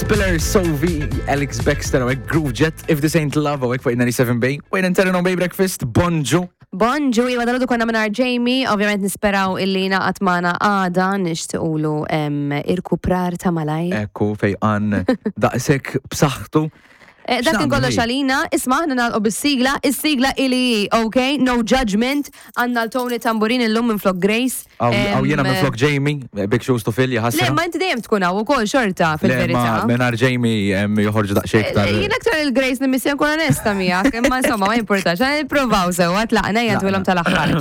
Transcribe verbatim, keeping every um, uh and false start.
Spiller, Sovi, Alex Baxter, u Groove Jet, If This Ain't Love, u fuq ninety-seven Bay. Wayne and Terry on Bay Breakfast, bonġu. Bonġu, iva, dalgħodu konna mingħajr Jamie, ovvjament nisperaw illi ngħaqad magħna għada, nixtiqulu irkuprar ta' malajr. Ekku, fejqan daqsek b'saħħtu. Eh, Dak kien kollox għalina, isma', aħna nagħlqu bis-sigla, is-sigla ili, ok, no judgment, għandna l-Tony Tamburin illum minn flok Grace. Aw jiena minn flok Jamie, big shoes to fill, jaħasra. Le, ma inti dejjem tkun hawn ukoll xorta fil-verità. Mingħajr Jamie joħorġu daqsxejn iktar. Jien aktar il-Grace nimmissja, nkun onesta miegħek, imma insomma ma jimpurtax, nippruvaw sewwa, tlaqna jgħidulhom tal-aħħar.